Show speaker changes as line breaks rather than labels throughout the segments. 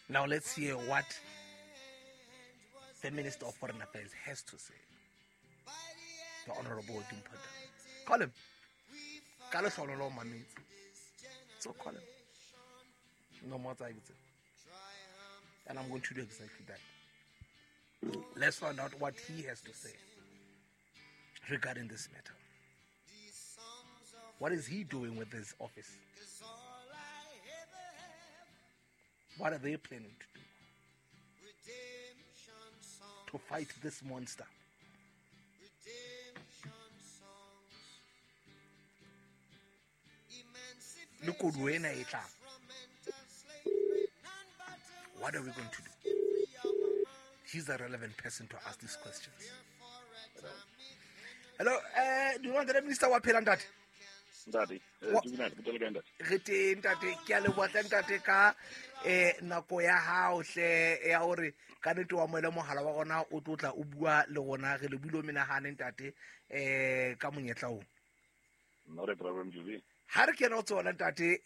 Now let's hear what the Minister of Foreign Affairs has to say. The Honorable Dimpho Tau. Call him. Ka lehlohonolo o mametse. So call him. No more tsa. And I'm going to do exactly that. Let's find out what he has to say regarding this matter. What is he doing with his office? What are they planning to do to fight this monster? Le koduwa ena e tlang. What are we going to do? He's a relevant person to ask these questions. Hello, do you want the minister wa phela, ntate?
Ntate, dumela, ke tele kae, ntate?
Re teng, ntate. Ke a leboha hle, ntate, ka nako ya hao hle ya hore ka nnete wa moele mohala wa rona o tlo tla o bua le rona. Re lebohile o menahane, ntate, ka monyetla oo.
Not a problem, Julie.
Ha re kena ho tsona, ntate,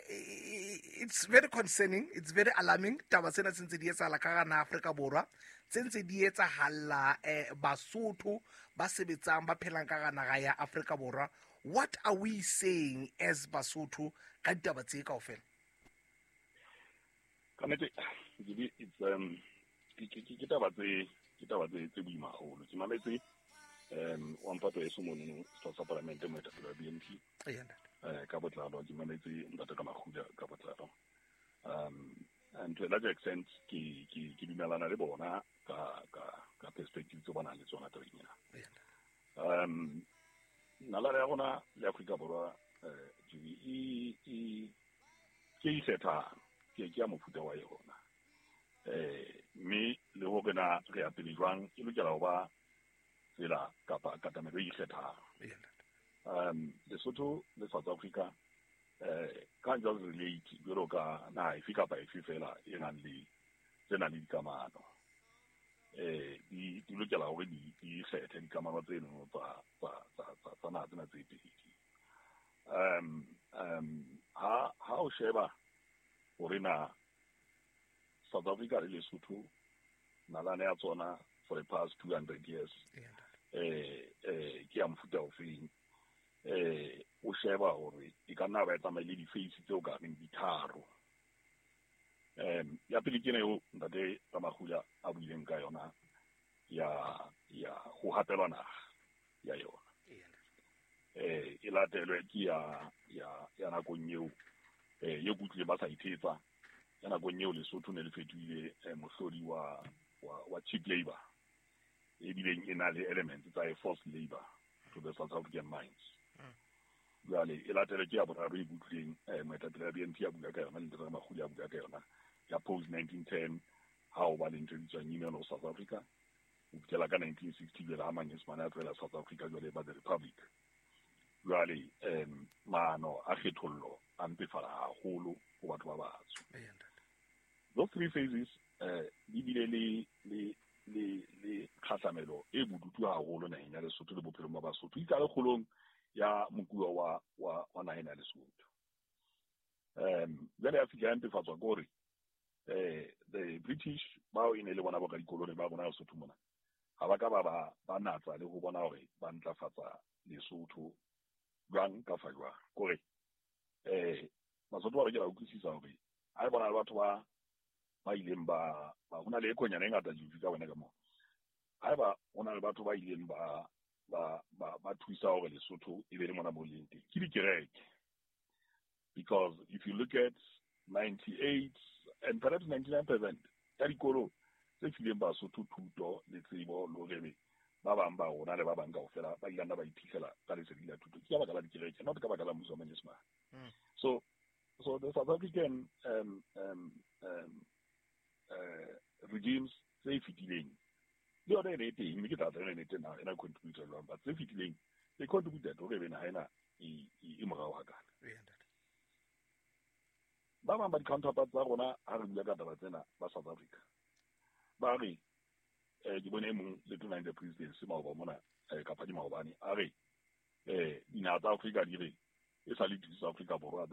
it's very concerning, it's very alarming, taba tsena tse ntse di etsahala ka hara naha Afrika Borwa, tse ntse di etsahalla Basotho ba sebetsang, ba phelang ka hara naha ya Afrika Borwa. What are we saying as Basotho ka ditaba tse kaofela?
Ka nnete, Julie, it's ke taba tse boima haholo. Ke mametse wa mphato eso monono, setho sa palamente, moetapele wa BNP.
Eya, ntate.
Ka botlalo ke mametse ntate ka Makguda ka botlalo. And to a large extent ke dumelana le bona ka perspective tse ba nang le tsona tabeng ena.
Eya, ntate.
Nalane ya rona le Afrika Borwa, Julie, e ke e ikgethang, ke ya mofuta wa yona. Mme le hore na re ya pele jwang, e lokela ho ba tsela kapa katamelo e ikgethang.
Eya, ntate.
Lesotho le South Africa can't just relate jwalo ka naha efe kapa efe fela e nang le tse nang le dikamano. Di lokela hore di ikgethe dikamano tseno tsa naha tsena tse pedi. Ha o sheba hore na South Africa le Lesotho nalane ya tsona for the past 200 years
Eya, ntate.
Ke ya mofuta ofeng, o sheba hore e ka nna ba e tsamaile di-phase tseo ka reng di tharo. Ya pele ke ena eo ntate Ramagula a buileng ka yona ya ho hapelwa naha ya yona.
Eya, ntate.
E latelwe ke ya nakong eo ye kutlwile ba sa ithetsa, ya nakong eo Lesotho ne le fetohile mohlodi wa cheap labor, e bileng e na le elements tsa a forced labor to the South African mines. Jwale e latelwe ke ya boraro e kutlwileng moetapele wa BNP a bua ka yona le ntate Ramaguli a bua ka yona, ya post 1910, ha o ba le ntho e bitswang Union of South Africa ho fihlela ka 1960, jwale ha Manyesemane a tlohela South Africa, jwale ba the Republic. Jwale maano a kgethollo a mpefala haholo ho batho ba batsho.
Eya, ntate.
Those three phases di bile le kgahlamelo e bodutu haholo naheng ya Lesotho le bophelong ba Basotho, itsa le kgolong ya mokuwa wa naha ena ya Lesotho. Jwale ya fihla ya mpefatswa ke hore the British bao e ne le bona bo radikolone ba rona Lesotho mona, ha ba ka ba natsa le ho bona hore ba ntlafatsa Lesotho jwang kafa jwang. Kore Basotho ba lokela ho utlwisisa hore ha e bona le batho ba ileng ba ho na le ekonyana e ngata juju ka bona ka moo, haeba ho na le batho ba ileng ba thusa hore Lesotho e be le mona mo leng teng, ke dikereke, because if you look at 98 and perhaps 99% ya dikolo tse fileng Basotho thuto le tsebo le hore ba bang ba rona le ba bang kaofela ba ile nna ba iphitlhela ka lesedi la thuto, ke ka baka la dikereke, not ka baka la mmuso wa Manyesemane. So the South African regimes tse fetileng le yona e ne e teng, mme ke tla tla ene teng ena contributor jwang, but tse fetileng they contributed hore ebe naha ena e morao hakana.
Eya, ntate.
Ba bang ba di-counterparts tsa rona, ha re bua ka taba tsena, ba South Africa ba re, ke bone e mong le tona in the presidency maoba mona, kapa di maobane, a re dinaha tsa Afrika di re e sa le South Africa Borwa.